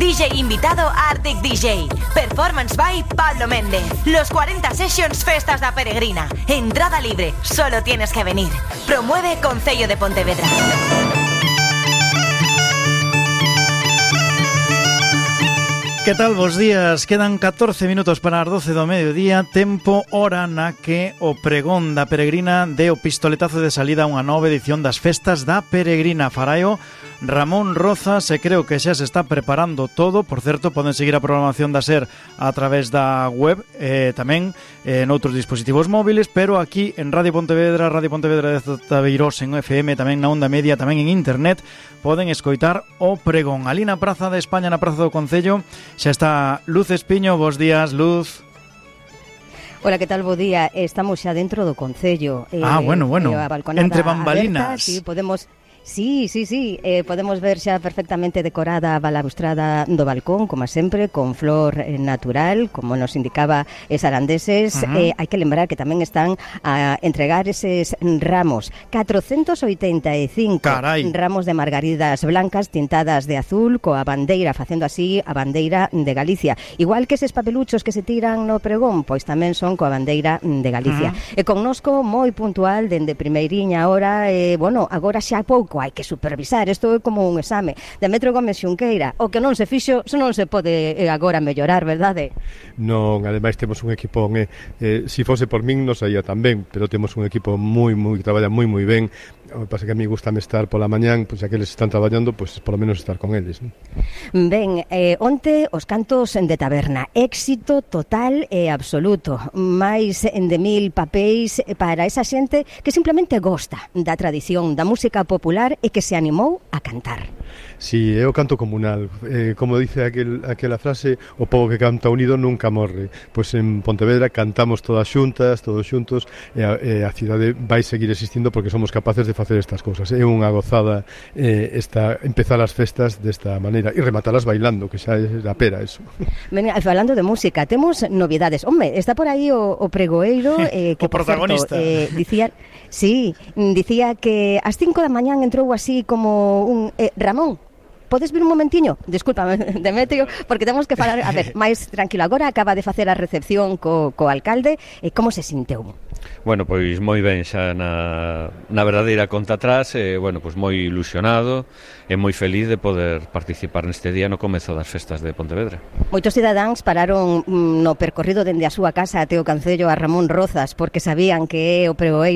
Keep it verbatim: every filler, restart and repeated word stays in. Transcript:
D J invitado Arctic D J. Performance by Pablo Méndez. Los cuarenta Sessions Festas da Peregrina. Entrada libre, solo tienes que venir. Promueve Concello de Pontevedra. Que tal, bos días? Quedan catorce minutos para as doce do mediodía. Tempo, hora na que o pregón da Peregrina de o pistoletazo de salida a unha nova edición das Festas da Peregrina. Faraio Ramón Rozas, e creo que xa se está preparando todo. Por certo, poden seguir a programación da SER a través da web, eh, tamén eh, noutros dispositivos móviles, pero aquí en Radio Pontevedra, Radio Pontevedra de Zotabeirós en F M, tamén na onda media, tamén en internet, poden escoitar o pregón. Ali na Praza de España, na Praza do Concello, xa está Luz Espiño. Bos días, Luz. Hola, que tal, bo día? Estamos xa dentro do Concello. Ah, eh, bueno, bueno, eh, entre bambalinas. Aberta, sí, podemos... Sí, sí, sí, eh, podemos ver xa perfectamente decorada a balaustrada do balcón, como sempre, con flor eh, natural, como nos indicaba es Arandeses. Uh-huh. eh, hai que lembrar que tamén están a entregar eses ramos, catrocentos oitenta e cinco Carai. Ramos de margaridas blancas tintadas de azul, coa bandeira, facendo así a bandeira de Galicia. Igual que eses papeluchos que se tiran no pregón, pois tamén son coa bandeira de Galicia. Uh-huh. E connosco moi puntual, dende primeiriña hora, eh, bueno, agora xa pouco hai que supervisar, isto é como un exame. Demetrio Gómez Xunqueira, o que non se fixo, se non se pode eh, agora mellorar, verdade? Non, ademais temos un equipo, eh, eh, si fose por min non saía tan ben, pero temos un equipo moi, moi, que traballa moi, moi ben. O que pasa que a mí gustame estar pola mañán, pois pues, aqueles están traballando, pois pues, polo menos estar con eles, non? Ben, eh, onte os cantos de taberna, éxito total e absoluto, máis de mil papéis para esa xente que simplemente gosta da tradición, da música popular e que se animou a cantar. Si, é o canto comunal, eh, como dice aquel, aquela frase, o pobo que canta unido nunca morre. Pois en Pontevedra cantamos todas xuntas, todos xuntos, e a, e a cidade vai seguir existindo porque somos capaces de facer estas cousas. É unha gozada eh, esta, empezar as festas desta maneira e rematalas bailando, que xa é a pera eso. Ben, falando de música, temos novidades. Home, está por aí o, o pregoeiro eh, que, o protagonista. Por certo, eh, dicía, sí, dicía que ás cinco da mañán entrou así como un eh, Ramón, podes vir un momentiño? Descúlpame, Demetrio, porque temos que falar, a ver, máis tranquilo. Agora acaba de facer a recepción co, co alcalde. E como se sinteu? Bueno, pois moi ben, xa na, na verdadeira conta atrás, e, bueno, pois moi ilusionado e moi feliz de poder participar neste día no comezo das festas de Pontevedra. Moitos cidadáns pararon no percorrido dende a súa casa até o Concello a Ramón Rozas porque sabían que é o pregoeiro